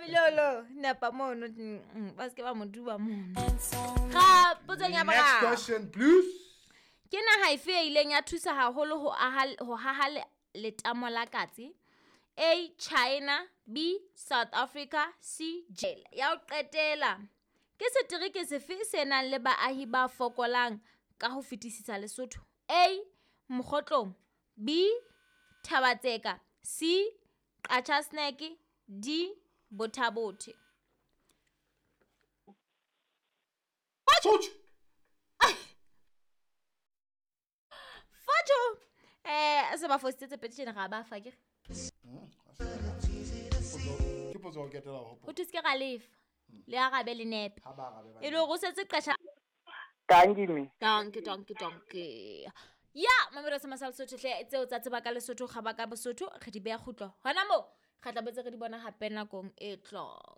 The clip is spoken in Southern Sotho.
Mamilolo napa mono ba se ke ba mo duba mono ga potsong ya Next boraro question, please. Ke naha efe e ileng ya thusa haholo ho aha ho haha letamo la Katse? A China, B South Africa, C J. Ya ho qetela, ke setereke sefe se nang le baahi ba fokolang ka ho fetisisa Lesotho? A Mokhotlong, B Thaba-Tseka, C Qacha's Nek, D Botha-Bothe. Touch. Fojo. Se ba fositse tse pedi tjena ga ba fa ke. Ke potso ya ho qetela ho Ho thuse ke ra lefa. Le arabe le nepe. Ha ba arabe ba E le hore o setse qasha. Dankie me. Dankie, dankie, dankie. Ya, mamelo se masal Sotho hle tseo tsa tseba ka Lesotho ga ba ka Bosotho re di beha kgutlo. Hona moo re tla botse re di bona hape nakong e tlang.